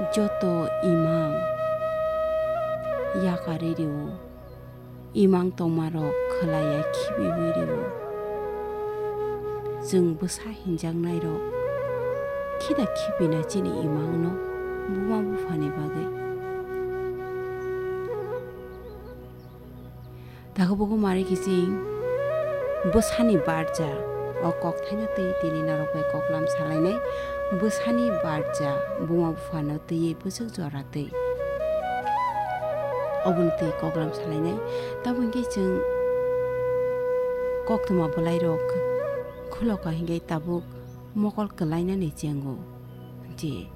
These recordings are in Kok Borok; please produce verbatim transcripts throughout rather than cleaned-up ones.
joto imang yakarwi rwo, imang tongmarok khwlaiya khibiwi rwo. Chwng bwsa hinjaknairok khida khibina chini imangno buma buphani bagwi. Takhuk bukhuk mari kiching bwsani barja, o kokthaino twi tini norok bai koklam salainai. Bwsani barja buma buphano twiwi bwswk jora twi, obono twi koklam salainai. Tamo hwnkhe chwng koktwma bwlairok khuloka hwnkhe tabuk mokol kwlainani chengo. Je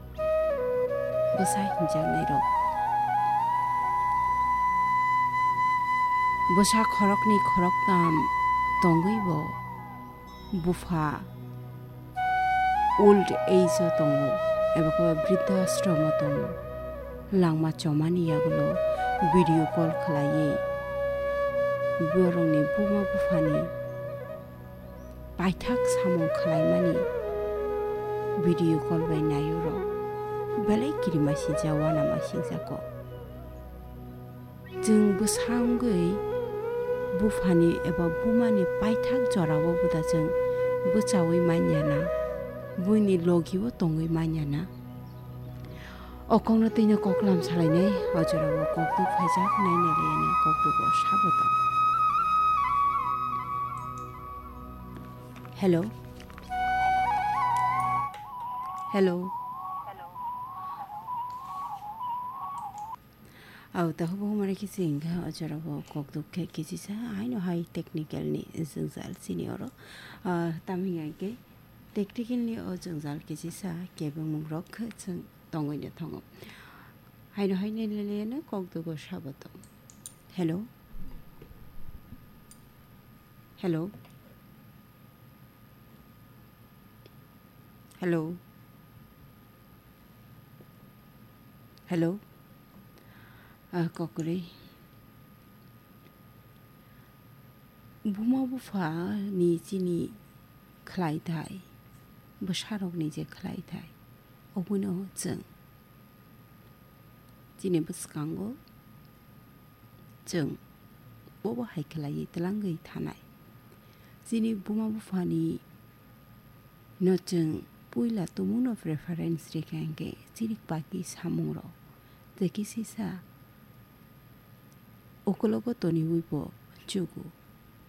bwsa hinjaknairok. Bwsa khoroknwi khoroktam tongwi bo bupha old age o tongo, eba khe briddo ashram o tongo. Langma chomani yagulo video call khlaiwi borokni buma buphani paithak samung khlaimani video call bai naio rok. Belai kirima singjak, uanama singjak kok. Chwng bwsa wngwi buphani eba bumani paithak jorao bwda chwng bwchaui manya na, buini logi o tongwi manya na. O kokno twino koklam salainai, o jorao kokduk phaijak, naina laiya na kokduk o sabo tong. Hello. Hello. Au, takhuk bukhuk mari khe chwng kha o jorao kokduk khe kisi sa haino hai technical ni jwngjal chini oro. Ah, tamni hwnkhe technical ni o jwngjal kisi sa kebengmung rok khe chwng tongwi no thango. Haino hai nai le le no kokduk o sabo tong. Hello. Hello. Hello. Hello. Ah, kokrwi. Buma bupha ni chini khlai thai, bwsarok ni je khlai thai, obono chwng chini bwskango chwng bobo hai khlaiwi twlangwi thanai. Chini buma buphani no chwng puila tumungno preference rikha hwnkhe chini baki samungrok tei kisisa ukologo toniwi bo chugo.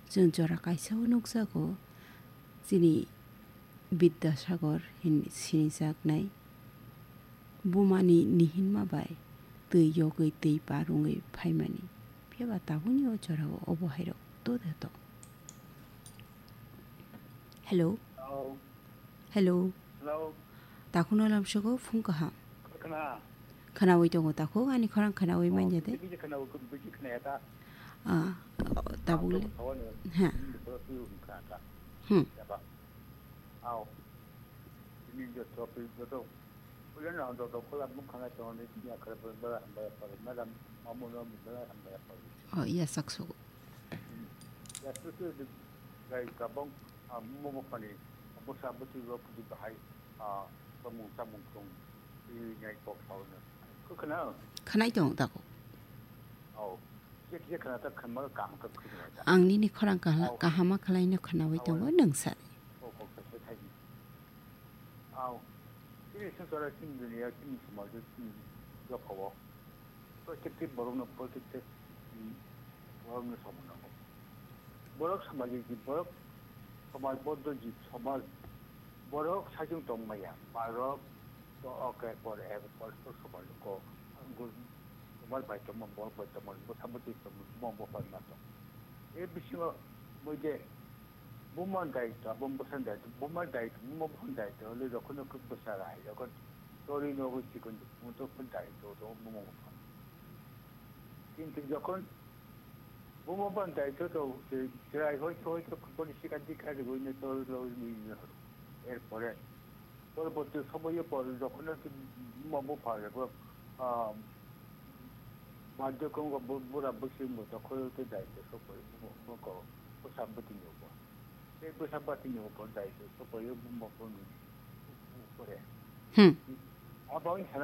Chwng jora kaisa o nukjago, chini Bidyasagar hin sinijaknai bumani nihinma bai twi yogwi twi par wngwi phaimani. Phiya ba tabukni o jorao obo hairok to da tong. Hello. Hello. Hello. Hello. Takhukno lamsogo phung kaham. Khwna. Khwnawi tongo takhuk, ani khorang khwnawi manya de? Bisi khwnawi, bisi khwnaya ta. Ah, tabuk le. Ha. Hmm. Yaba. Au. Ini joto, joto. Ulan na joto kola mukha na tongo ni ya kare bala hambaya pare. Madam, mamu no bala hambaya pare. Oh, iya saksogo. Ya, tu, tu, tu, gai kabang, ah, mo, mo, pani, bo sa, bo, tu, ro, tu, bahai, ah, samung, samung, kong, i, nyai, kok, sao, na. Ko, khana? Khanai tong, tako. Oh, je, je, khana, ta, khama, kam, ka, khana, ta. Ang nini khorang kaha-, Oh. kahama khalai no khanawi Oh, tongo, oh. Nung sa. Oh, kok, sa, sa, thai. Au, chini swngcharo, chini duniya, chini somajo, chini dophao protekti borokno, protekti, mm, borokno samung nango. Borok samajik jib, borok somajboddo jib, somaj, borok saichung tongmaya, borok to oke por ek por to somaj ko, somaj bai tongma, borok bai tongma, bwsa bwtwi tongma, buma bupha ma tong. E bisingo moi je Buma daitwa, buma bwsani daitwa, buma daitwa, buma bwsani daitwa, le jokhon jokhon bwsa rai, jokhon tori nogo chikon, buma jokhon daitwa, to buma bwsani. Kintu jokhon buma bwsani daitwa to, se chwrai hoi hoi to, boni sikha dikha rigoi ne tori logi ne. Erpore, porborti somoyo por jokhon buma bupha rego, ah, Baidyo kwngo bu-, bura bwswk bo dokhol tei daitwa sokoi bo, bo ko bwsa bwtwini upor. Tei bwsa bwtwini upor daitwa sokoi bo bo kwnwi upore. Hmm. Abo wng sana